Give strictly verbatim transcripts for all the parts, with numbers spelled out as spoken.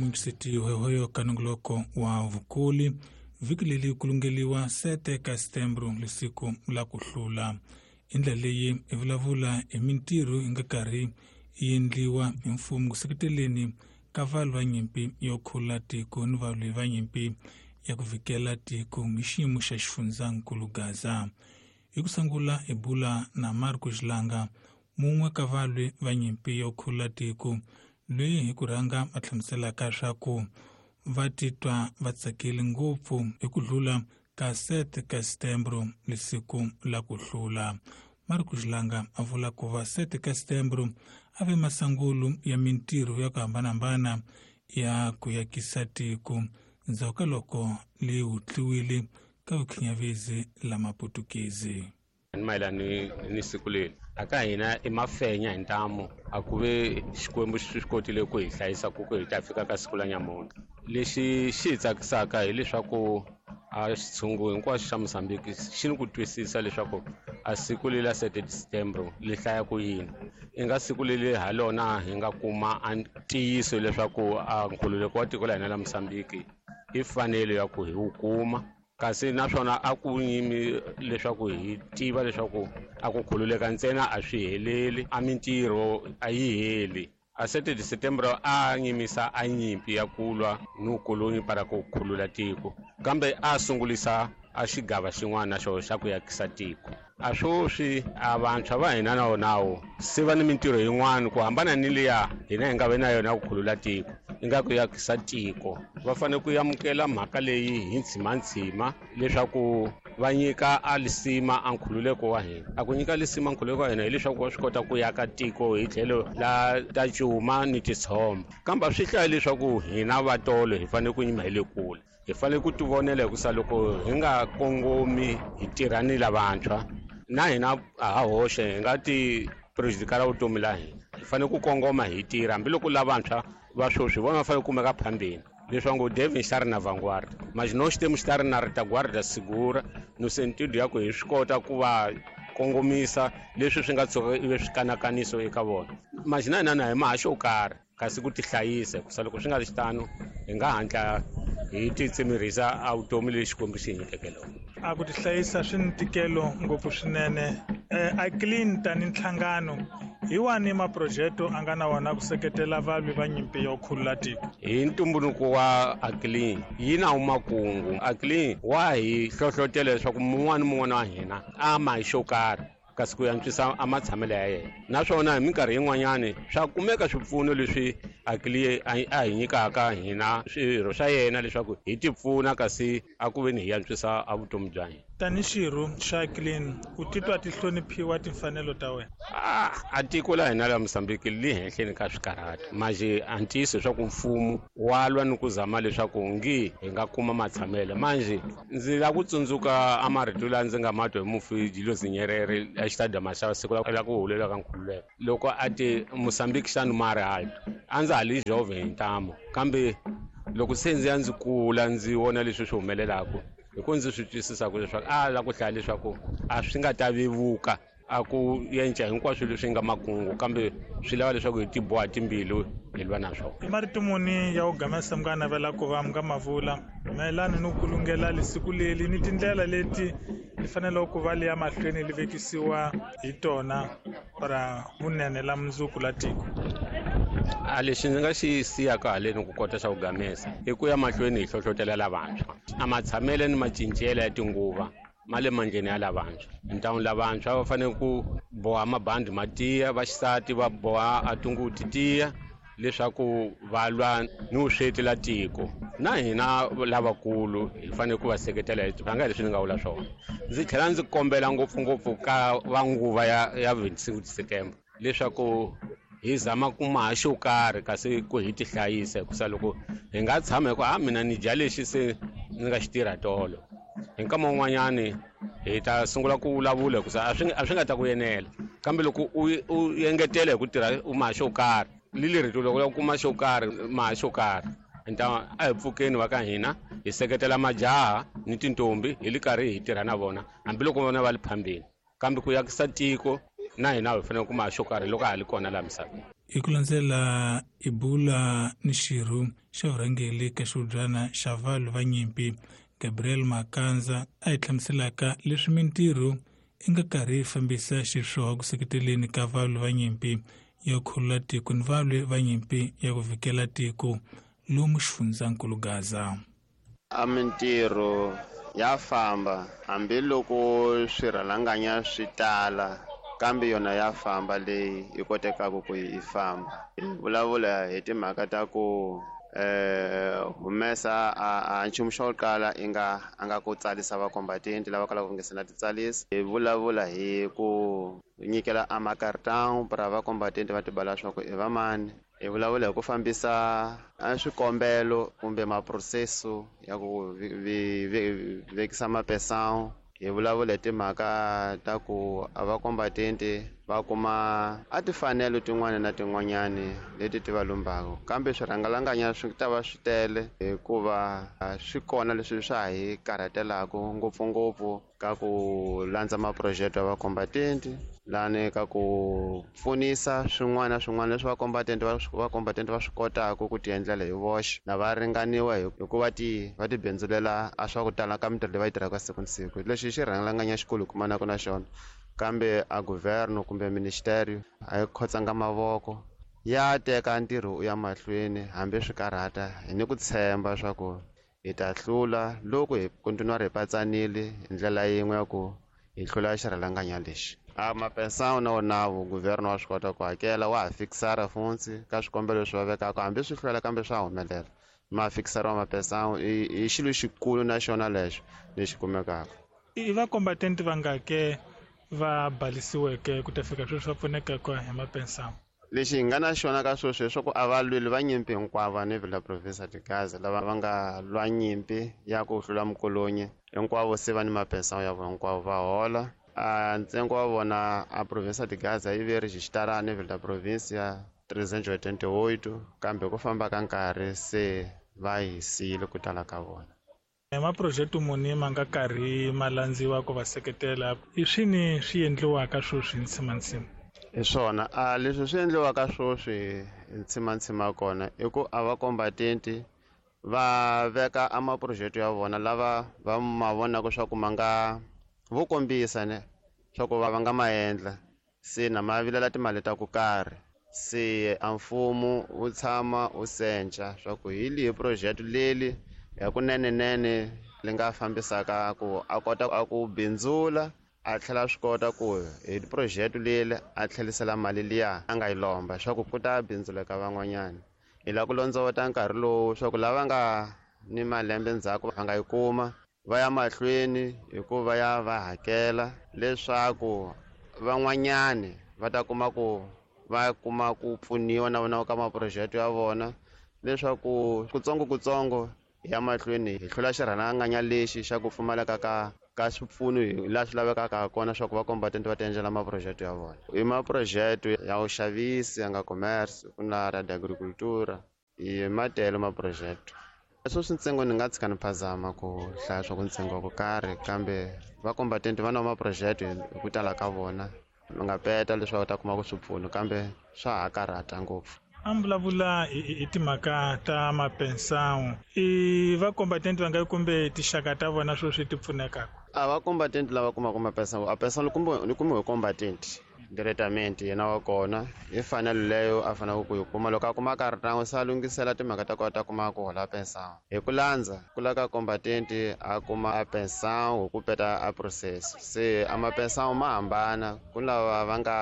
Mixiti hoyohoyo ka nongoloko wa vukuli vhiki leri ku lungeliwa sete ka Setembro lesiku la ku hlula. I ndlela leyi i vulavula hi mintirho yi nga karhi yi endliwa hi mfumo ku seketeleni ka valwi va nyimpi yo khulula tiko ni valwi va nyimpi ya ku vikela tiko hi xiyimo xa xifundzankulu Gaza. Hi ku sungula hi bula na Marco Xilanga, mun'we ka valwi va nyimpi yo khulula tiko, loyi hi ku rhanga a hlamuselaka swa ku va titwa va tsakile ngopfu hi ku hlula ka sete ka Setembro lesiku la ku hlula. Marco Xilanga a vula ku va sete ka Setembro a ve masangulu ya mintirho ya ku hambanahambana ya ku yakisa tiko ndzhaku ka loko li hutliwile ka vukhinyavezi la maputukezi. Ni mayelana ni, ni siku leri aka hina i mafenya hi ntamu a ku ve Xikwembu xi swi kotile ku hi hlayisa ku ku hi ta fika ka siku la nyamuntlha. Lexi xi hi tsakisaka hileswaku a xitshungu hinkwaxo xa Mozambique xi ni ku twisisa leswaku a siku leri la sete Setembro li hlaya ku yini. I nga siku leri ha lona hi nga kuma a ntiyiso leswaku a nkhululeko wa tiko la hina la Mozambique i fanele ya ku hi wu kuma. Kasi naswona a ku nyimi leswaku hi tiva leswaku a ku khululeka ntsena a swi heleli, a mintirho a yi heli. A sete de Setembro a nyimisa a nyimpi ya ku lwa ni vukoloni para ku khulula tiko, kambe a sungulisa a xigava xin'wana na xona xa ku yakisa tiko. A swoswi a vantshwa va hina na wonawo se va ni mintirho yin'wana ku hambana ni liya hina hi nga ve na yona ya ku khulula tiko, i nga ku yakisa tiko. Va fanele ku amukela mhaka leyi hi ntshimantshima leswaku va nyika a lisima a nkhululeko wa hina. A ku nyika lisima nkhululeko wa hina hileswaku va swi kota ku yaka tiko hi tlhelo la ta cuma ni titshomba, kambe a swi hlaya leswaku hina va tolo hi fanele ku yima hi le kule. Hi fanele ku tivonela hikusa loko hi nga kongomi hi tirha ni lavantshwa na hina a ha hoxe hi nga ti prejudikala vutomi la hina. Hi fanele ku kongoma hi tirha hambiloko lavantshwa va sweswi vona va fanele ku kumeka phambeni leswaku devem estar na vanguarda, mas nós temos que estar na retaguarda segura no sentido ya ku hi swi kota ku va kongomisa leswi swi nga tshuka ivi swi kanakaniso eka vona. Mas na hina na hi maha xo karhi kasi ku tihlayisa hikusa loko swi nga ri xitano hi nga hatla hi titsimirhisa a vutomi lexi Xikwembu xi hi nyikeke lona. A ku tihlayisa swi ni ntikelo ngopfu swinene. Eh, a clean tani nhlangano hi wani maprojeto a nga na wona ku seketela valwi va nyimpi yo khulula tiko? Hi ntumbuluko wa Aclean yi na makungu. Aclean wa hi hlohlotela leswaku mun'wana ni mun'wana wa hina a ma hi xo karhi kasi ku antswisa a matshamelo ya yena. Naswona hi minkarhi yin'wanyani swa kumeka swipfuno leswi Aclean a, a hi nyikaka hina swirho swa yena leswaku hi tipfuna kasi a ku veni hi antswisa a vutomi bya hina. Tani xirho xa Aclean u titwa ti hloniphiwa timfanelo ta wena? Ah, a tiko la hina la Mozambique li henhleni ka swikarhati. Manjhe a ntiyiso leswaku mfumo wa lwa ni ku zama leswaku ngi hi nga kuma matshamelo. Manjhe ndzi lava ku tsundzuka a marito lawa ndzi nga ma twa hi mufi Julius Nyerere a xitadiyamu xa siku la ku hulela ka nkhululeko, loko a te Mozambique xa no mar alto. A ndza ha li jovem hi ntamu, kambe loko se ndzi ya ndzi kula ndzi vona leswi swi humelelaka, hi ku ndzi swi twisisaka leswaku a lava ku hlaya leswaku a swi nga ta vevuka a ku yenca hinkwaswo leswi nga makungu, kambe swi lava leswaku hi tiboha timbilu hi lwa na swona. I marito muni ya ku gamesa mi nga navela ku va mi nga ma vula mayelana ni ku lungela lesiku leri ni tindlela leti li faneleke ku va li ya mahlweni li vekisiwa hi tona para vunene la mundzuku la tiko? A lexi ndzi nga xi siyaka haleni ku kota xa ku gamesa i ku ya mahlweni hi hlohlotela lavantshwa. A matshamelo ni macincelo ya tinguva ma le mandleni ya lavantshwa. Ntlangu lavantshwa va fanele ku boha mabandi ma tiya, vaxisati va boha a tinguvu ti tiya leswaku va lwa ni vusweti la tiko. Na hina lavakulu hi fanele ku va seketela hi rhanga hi leswi ni nga vula swona. Ndzi tlhela ndzi kombela ngopfungopfu ka va nguva ya, ya vingt-cinco September leswaku hi zama ku maha xo karhi kasi ku hi tihlayisa, hikusa loko hi nga tshama hi ku, a mina ni dya lexi se ndzi nga xi tirha tolo, hi nkama wun'wanyani hi ta sungula ku vulavula hikusa a swi, a swi nga ta ku enela. Kambe loko u, u engetela hi ku tirha u maha xo karhi, li leri loko u lava ku kuma xo karhi, maha xo karhi, nta a hi pfukeni va ka hina hi seketela majaha ni tintombi hi li karhi hi tirha na vona hambiloko vona va li phambeni, kambe ku yakisa tiko na hina hi fanele ku maha xo karhi loko ha li kona laha misaveni. Hi ku landzela Ibula ni xirho xa vurhangeri ka xihubyana xa valwi va nyimpi Gabriel Makanza a hi hlamuselaka leswi mintirho i nga karhi yi fambisa xiswona ku seketeleni ka valwi va nyimpi ya khulula tiko ni valwi va nyimpi ya ku vikela tiko lomu xifundzankulu Gaza. A mintirho ya famba hambiloko swirhalanganya swi tala, kambe yona ya famba leyi yi kotekaka ku yi famba. Hi vulavula hi timhaka ta ku eh humesa a nchumu xo kala i nga a nga ku tsarisa vacombatenti lava kalaka ku nge se na titsalisa. Hi vulavula hi ku nyikela a macartão para vacombatenti va tibala swa ku i va mani. Hi vulavula hi ku fambisa a swikombelo kumbe maproseso ya ku vekisa mapesão. Hi vulavula hi timhaka ta ku a vacombatenti va kuma a tifanelo tin'wana na tin'wanyani leti ti va lumbaka, kambe swirhangalanganya swi ta va swi tele hikuva swi kona leswi swa hi karhatelaka ngopfungopfu ka ku landza maproject ya vacombatenti lani ka ku pfunisa swin'wana na swin'wana leswi vacombatenti va vacombatenti va swi kotaka ku ti endlela hi voxe na va ringaniwa hikuva ti va ti bindzulela a swa ku tala ka mintirho leyi va yi tirhaka siku na siku. Lexi xi rhangalanganya xikulu hi kumanaka na xona, kambe a governo kumbe ministerio a yi khotsanga mavoko ya teka ntirho u ya mahlweni hambi swi karhata. Hi ni ku tshemba swa ku hi ta hlula loko hi kontinuwa hi patsanile hi ndlela yin'we ya ku hi hlula xirhalanganya lexi. A mapensão na wona governo wa swi kota ku hakela, wa ha fikisara funtsi ka swikombelo leswi va vekaka, hambi swi hlwela kambe swa humelela. Ma fikisara wa mapensão i xilo xikulu na xona lexo lexi kumekaka. I vacombatenti vangake va balisiweke ku ta fika sweswi va pfunekaka hi mapensão? Lexi hi nga na xona ka sweswi leswaku a va lweli va nyimpi hinkwavo ni Vila Province de Gaza lava va nga lwa nyimpi ya ku hlula mukolonyi hinkwavo se va ni mapensão ya vona hinkwavo va hola. A ntsengo wa vona a Province de Gaza yi ve rejistara ni Vila Province trezentos e oitenta e oito, kambe ku famba ka nkarhi se va yi siyile ku tala ka vona. Maproject muni ma nga karhi ma landziwa ku va seketela i swini swi endliwaka sweswi hi ntsimantsima? Hi swona a leswi swi endliwaka sweswi hi ntsimantsima kona i ku a vacombatenti va veka a maproject ya vona lava va ma vonaka swa ku ma nga vo kombisa ne swa ku va va nga ma endla, se na ma vilela timali ta ku karhi. Se a mfumo wu tshama wu senca swa ku hi lihi project leli ya kunenenene li nga fambisaka ku a kota a ku bindzula a tlhela swi kota ku hi project leli a tlhelisela mali liya a nga yi lomba swa ku ku ta bindzuleka van'wanyana. Hi lava ku londzovota nkarhi lowu swa ku lava nga ni malembe ndzhaku va nga yi kuma va ya mahlweni hikuva ya va hakela leswaku van'wanyani va ta kuma ku va kuma ku pfuniwa na vona ka maproject ya vona leswaku kutsongo kutsongo ya mahlweni hi hlula xirhalanganya lexi xa ku pfumaleka ka ka swipfuno hi laha swi lavekaka kona swa ku vacombatenti va ti endlela maproject ya vona. I maproject ya vuxavisi ya nga commerce ku na ra agricultura i matele maproject. Sweswi ntsengo ni nga tshika ni phazama ku hlaya swa ku ntsengo wa ku karhi, kambe vacombatenti va na maproject hi ku tala ka vona va nga peta leswaku ta kuma ku swipfuno, kambe swa ha karhata ngopfu. A mi vulavula hi timhaka ta mapensão, i vacombatenti va nga kumbe tinxaka ta vona sweswi ti pfunekaka? A vacombatenti lava kumaka mapensão, a pensão ni kumiwe combatente diretamente yena wa kona hi fanelo leyo a faneleke ku yi kuma. Loko a kuma cartão se a lunghisela timhaka ta ku ta kuma ku hola pensão. Hi ku landza ku lava ka combatente a kuma a pensão hi ku peta a process. Se a mapensão ma hambana, ku lava va nga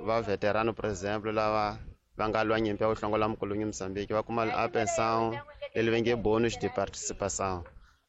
va veterano por exemple lava va nga lwa nyimpi ya ku hlongola mukolonyi Mozambique va kuma a pensão leli va nge bonus de participação.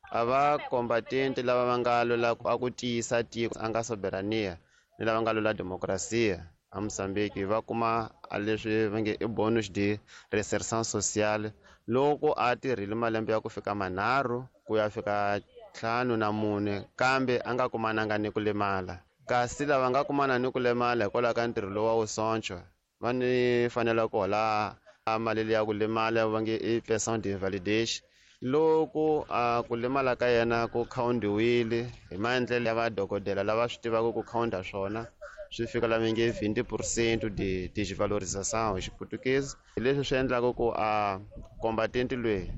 A va combatente lava va nga lwela a ku tiyisa tiko a nga soberania ni lava nga lwela demokrasia a Mozambique va kuma a leswi va nge i bonus de reinserção social loko a tirhile malembe ya ku fika manharhu ku ya fika ntlhanu na mune kambe a nga kumananga ni ku lemala. Kasi lava nga kumana ni ku lemala hikwalaho ka ntirho lowu wa vusoncho va ni fanele ku hola mali liya ku lemala va nge i pensão de invalidez loko a ku lemala ka yena ku khawundiwile hi maendlelo ya vadokodela lava swi tivaka ku khawunda swona Swi fika la nge vinte por cento de desvalorização hi Xiputukezi. Hi leswi swi endlaka ku a combatente loyi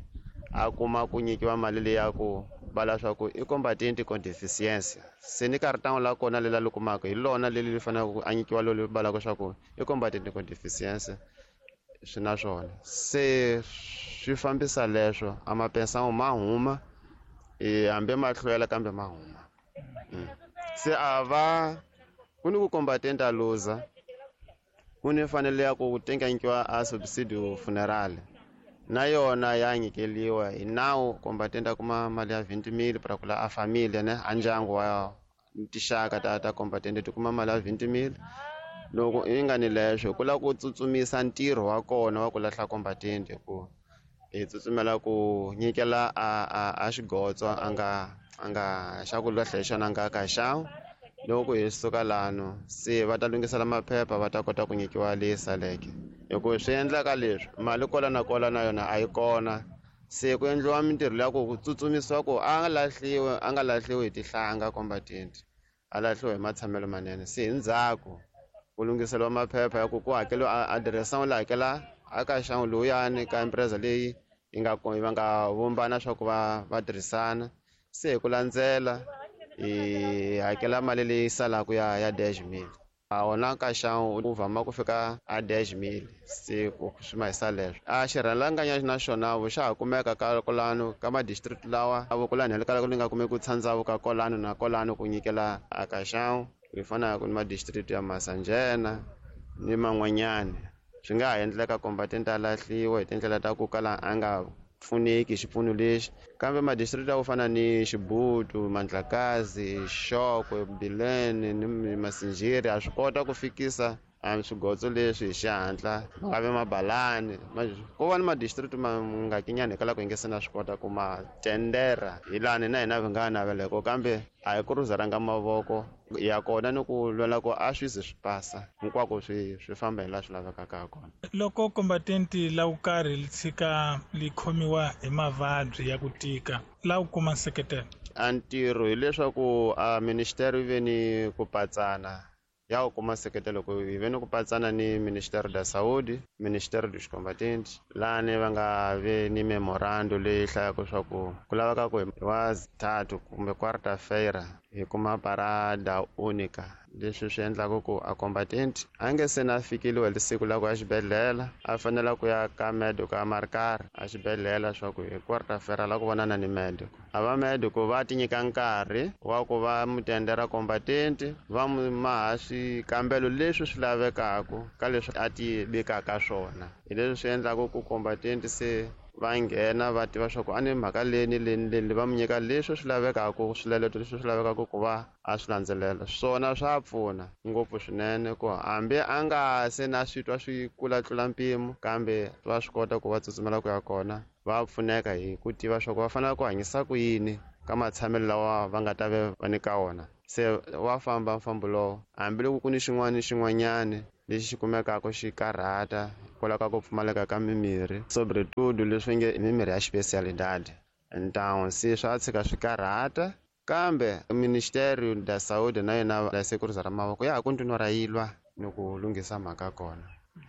a kuma ku nyikiwa mali leyi ya ku vala swa ku i combatente com deficiência. Se ni cartão la kona lela li kumaka hi lona leli li faneleke ku a nyikiwa loli valaka swa ku i combatente com deficiência swi na swona. Se swi fambisa leswo a mapensão ma huma e hambi ma hlwela kambe ma huma. Se a va ku ni ku combatente a luza ku ni fanele ya ku tenganyikiwa a subsidio funeral na yona ya nyikeliwa hi nawu combatente a kuma mali ya vinte mil para kula a família ne a ndyangu wa tinxaka ta ta combatente ti kuma mali ya vinte mil. Loko i nga ni leswo ku lava ku tsutsumisa ntirho wa kona wa ku lahla combatente ku hi tsutsumela ku nyikela a a a xigotso a nga a nga xa ku lahla hi xona a nga ka xawu. Loko hi suka lano se va ta lunghisela maphepha va ta kota ku nyikiwa leyi saleke hikuva swi endlaka leswi mali kola na kola na yona a yi kona. Se ku endliwa mintirho leya ku ku tsutsumisiwa ku a nga lahliwi a nga lahliwi hi tihlanga combatente a lahliwa hi matshamelo manene. Se hi ndzhaku ku lunghiseriwa maphepha ya ku ku hakeliwa adirese la hakela a ka xangu lowuyani ka empresa leyi yi nga va nga vumbana swa ku va va tirhisana. Se hi ku landzela hi hakela mali leyi salaka ya ya dez mil. A wona ka xangu u vhama ku fika a dez mil se ku swi ma hisa leswo. A xirhalanganya na xona xa ha kumeka ka kolano ka ma-district lawa a vokolani hi le ka li nga kumeki ku tshandzavu ka kolano na kolano ku nyikela a ka xangu hi fanaka ni ma-district ya Masanjena ni man'wanyana. Swi nga ha endleka combatente a lahliwa hi tindlela ta ku kala a nga pfuneki hi xipfuno lexi kambe ma-district ya ku fana ni Xibutu, Mandlakazi, Xokwe, Bilene ni Masinjiri a swi kota ku fikisa a swigotso leswi hi xihatla ma nga vi mabalani. Ko va ni ma-district ma nga kinyani hikwalaho ku hi nge se na swi kota ku ma tendera hi lani na hina vi nga naveleko kambe a hi ku rhuzaranga mavoko ya kona ni ku lwela ku a swi ze swi pasa hinkwako swi swi famba hi laha swi lavekaka ha kona. Loko combatente la ku karhi li tshika li khomiwa hi mavabyi ya ku tika la ku kuma nseketelo a ntirho hileswaku a ministério yi ve ni ku patsana ya ku kuma nseketelo ku hi ve ni ku patsana ni Ministério da Saúde, Ministério dos Combatentes lani va nga ve ni memorando leyi hlayaka swa ku ku laveka ku hi wa tatu kumbe quarta-feira hi kuma parada única leswi swi endlaka ku a combatente a nge se na fikeliwa hi siku la ku ya xibedhlele a fanela ku ya ka médico a marcar a xibedhlele swa ku hi quarta-feira la ku vonana ni médico. A va médico va ti nyika nkarhi wa ku va mutendera combatente va mu maha swikambelo leswi swi lavekaka ka leswi a ti vekaka swona. Hi leswi swi endlaka ku combatente se va nghena va tiva swa ku a ni mhaka leyi ni leyi ni leyi va mu nyika leswi swi lavekaka swiletelo leswi swi lavekaka ku va a swi landzelela. Swona swa pfuna ngopfu swinene ku hambi a nga se na swi twa swi kula tlula mpimo kambe va swi kota ku va tsutsumela ku ya kona va pfuneka hi ku tiva swa ku va fanele ku hanyisa ku yini ka matshamelo lawa va nga ta ve va ni ka wona. Se wa famba mfambo lowo hambiloko ku ni xin'wana ni xin'wanyani lexi xi kumekaka xi karhata hikwalaho ka ku pfumaleka ka mimirhi sobretudo leswi nge mimirhi ya xipesialidade. Então se swa tshika swi karhata kambe Ministério da Saúde na yona la sekuruza ra mavoko ya ha continua ra yilwa ni ku lunghisa mhaka kona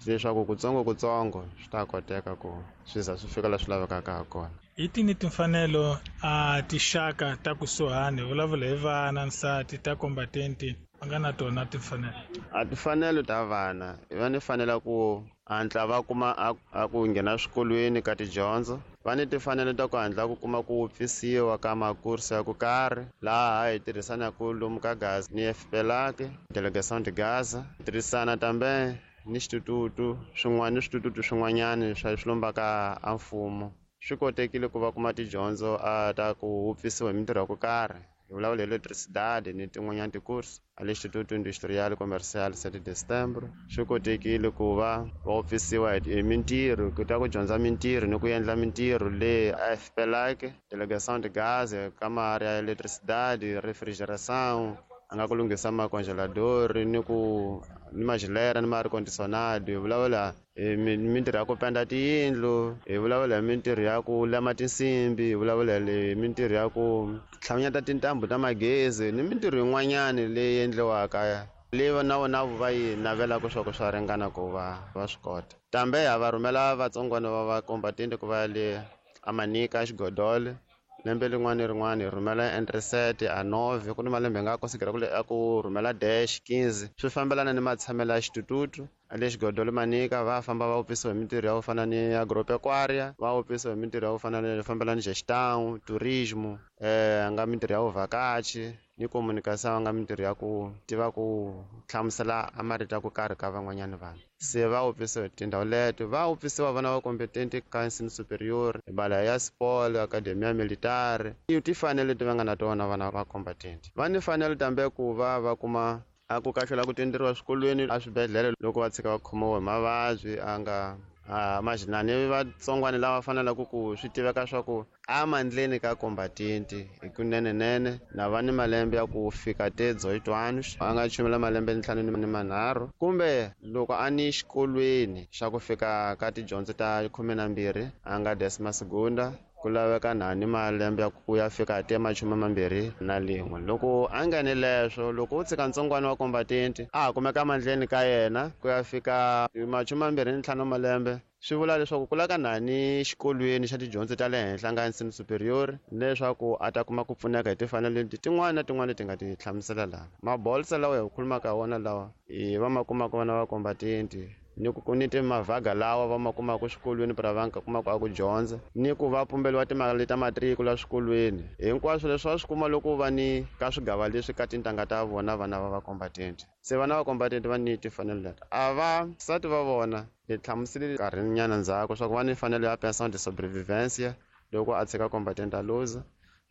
leswaku kutsongo kutsongo swi ta koteka ku swi za swi fika la swi lavekaka ha kona. Hi tini timfanelo a tixaka ta kusuhani vulavula hi vana nsati ta combatente va nga na tona timfanelo? A timfanelo ta vana va ni fanela ku hatla va kuma a ku nghena swikolweni ka tidyondzo. Va ni timfanelo ta ku hatla ku kuma ku wupfisiwa ka makursi ya ku karhi laha hi tirhisanaka lomu ka Gaza ni F P L A C, Delegação de Gaza, tirhisana tambe ni xitututu swin'wana ni switututu swin'wanyani swa swi lombaka a mfumo. Swi kotekile ku va kuma tidyondzo a ta ku wupfisiwa hi mintirho ya ku karhi hi vulavula hi eletricidade ni tin'wanyana tikursi a le Instituto Industrial Comercial sete de Setembro. Swi kotekile ku va va wupfisiwa hi mintirho ku ta ku dyondza mintirho ni ku endla mintirho le a F P L A C, Delegação de Gaza, ka maarea ya eletricidade, refrigeração a nga ku lunghisa macongelador ni ku ni majilera ni ma air condicionado. Hi vulavula hi mintirho ya ku penda tiyindlu, hi vulavula hi mintirho ya ku lema tinsimbi, hi vulavula hi mintirho ya ku tlhamanyata tintambu ta magezi ni mintirho yin'wanyani leyi endliwaka Leyi na vona va yi navelaka swa ku swa ringana ku va va swi kota. Kambe ha va rhumela vatsongwana va vacombatente ku va ya le Amanika Xigodole. Lembe rin'wana ni rin'wana hi rhumela entre sete a nove, ku ni malembe hi nga konsidera ku a ku rhumela dash quinze. Swi fambelana ni matshamelo ya xitututu. Le Xigodole Manika va famba va upisiwa hi mintirho ya ku fana ni agropecuária, va upisiwa hi mintirho ya ku fana ni fambelana ni gestão, turismo, eh nga mintirho ya vuvhakachi ni comunicação, nga mintirho ya ku tiva ku hlamusela a marito ya ku karhi ka van'wanyana vanhu. Se va upisiwa hi tindhawu leto, va upisiwa vana va competente ka ensino superior, bala ya sport, academia militare. I tifanelo leti va nga na tona vana va combatente. Va ni fanelo tambe ku va va kuma a ku kahlula ku tenderiwa swikolweni a swibedhlele loko va tshika va khomiwa hi mavabyi a nga a majinani vatsongwana lava fanelaka ku swi tiveka swa ku amandleni ka combatente hi kunenenene na va ni malembe ya ku fika te dezoito anos, a nga chumela malembe ntlhanu ni manharhu, kumbe loko a ni xikolweni xa ku fika ka tidyondzo ta khume na mbirhi a nga décima segunda, ku laveka nhani malembe ya ku ya fika te machume mambirhi na lin'we. Loko a nga ni leswo, loko u tshika ntsongwana wa combatente a ha kumeka mandleni ka yena ku ya fika machume mambirhi ni ntlhanu malembe, swi vula leswaku ku laka nhani xikolweni xa tidyondzo ta le henhla nga ensino superior, leswaku a ta kuma ku pfuneka hi tifanelo leti tin'wana na tin'wana leti nga ti hlamusela laha. Mabolsa lawa hi khulumaka wona lawa i va ma kumaka vana va combatente, ni ku ni timavhaga lawa va ma kumaka swikolweni para va nga kumaka a ku dyondza, ni ku va pumberiwa timali ta matriku la swikolweni. Hinkwaswo leswi va swi kuma loko va ni ka swigava leswi ka tintangha ta vona vana va va combatente. Se vana va combatente va ni tifanelo leti. A va nsati va vona hi hlamuserile nkarhinyana ndzhaku swa ku va ni fanelo ya pension de sobrevivência loko a tshika combatente a luza.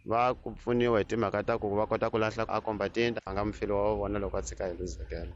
Va ku pfuniwa hi timhaka ta ku va kota ku lahla a combatente a nga mufeli wa vona loko a tshika hi luzekela.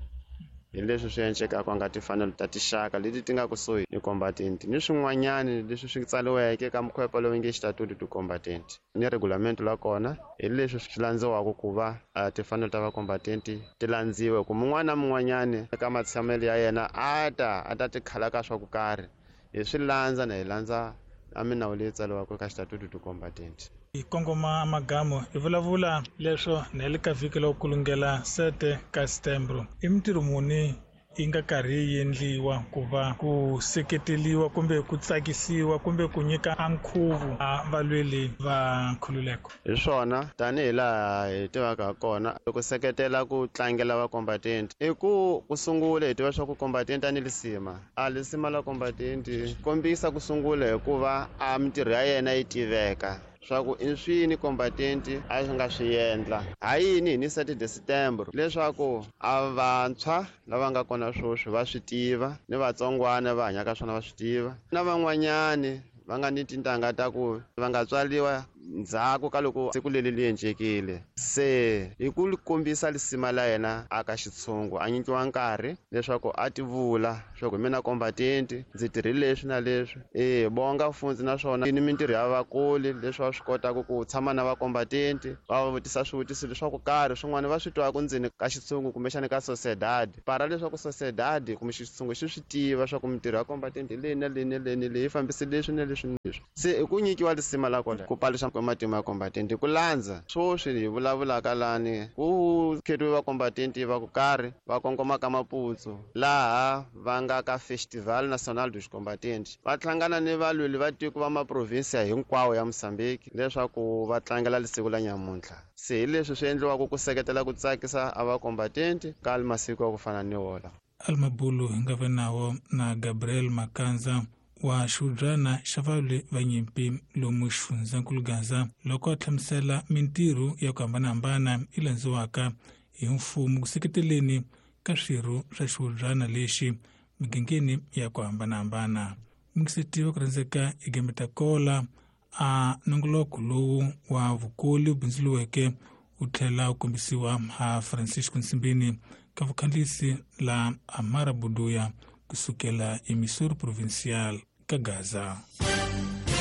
Hi leswi swi encekaka nga tifanelo ta tixaka leti ti nga kusuhi ni combatente, ni swin'wanyani leswi swi tsariweke ka mkhwepa lowu nge xitatutu ti combatente ni regulamento la kona. Hi leswi swi landziwaka ku va tifanelo ta vacombatente ti landziwe, ku mun'wana na mun'wanyani eka matshamelo ya yena a ta a ta tikhala ka swa ku karhi, hi swi landza na hi landza a minawu leyi tsariwaka ka xitatutu ti combatente. Hi kongoma magamo hi vulavula leswo na le ka vhiki lowu kulungela sete ka setembro. I mintirho muni yi nga karhi yi endliwa ku va ku seketeliwa kumbe ku tsakisiwa kumbe ku nyika a nkhuvo a valweli va nkhululeko? Hi swona, tanihi laha hi tivaka kona, ku seketela ku tlangela vacombatente i ku ku sungula hi tiva swa ku combatente a ni lisima. A lisima la combatente kombisa ku sungula hikuva a mintirho ya yena yi tiveka swa ku i swini combatente a swi nga swi endla. Ha yini hi ni sete de setembro? Leswaku a vantshwa lava nga kona sweswi va swi tiva, ni vatsongwana va hanyaka swona va swi tiva, na van'wanyani va nga ni tintangha ta ku va nga tswariwa ndzhaku ka loko siku leri li encekile. Se hi ku kombisa lisima la yena a ka xitshungu, a nyikiwa nkarhi leswaku a tivula swa ku mina combatente ndzi tirhile leswi na leswi. E bonga fundzi naswona ni mintirho ya vakuli leswi va swi kotaka ku tshama na vacombatente, va va vutisa swivutiso leswaku karhi swin'wana va swi twaka ndzeni ka xitshungu kumbexana ka sociedade, para leswaku sociedade kumbe xitshungu xi swi tiva swa ku mintirho ya combatente leyi na leyi na leyi na leyi fambise leswi na leswi na leswi. Se i ku nyikiwa lisima la kona ku paluxa matimu ya combatente ku landza sweswi hi vulavulaka lani ku khetiwe vacombatente va ku karhi va kongoma ka Maputo laha va nga ka Festival Nacional dos Combatentes, va hlangana ni valweli va tiko va maprovinsia hinkwawo ya Mozambique leswaku va tlangela lisiku la nyamuntlha. Se hi leswi swi endliwaka ku seketela ku tsakisa a vacombatente ka masiku ya ku fana ni wola. Almabulu hi nga va nawo na Gabriel Makanza wa xiudyana xa valwi va nyimpi lomu xifundzankulu Gaza loko a hlamusela mintirho ya ku hambanahambana yi landziwaka hi mfumo ku seketeleni ka swirho swa xiudyana lexi migangeni ya ku hambanahambana. Mingisetiwa ku rhandzeka i Gembeta Kola a nongoloko lowu wa vukoli wu bindzuriweke wu tlhela wu kombisiwa ha Francisco Nsimbini ka vukhandlisi la Amara Buduya kusukela eMissouri Provincial ka Gaza.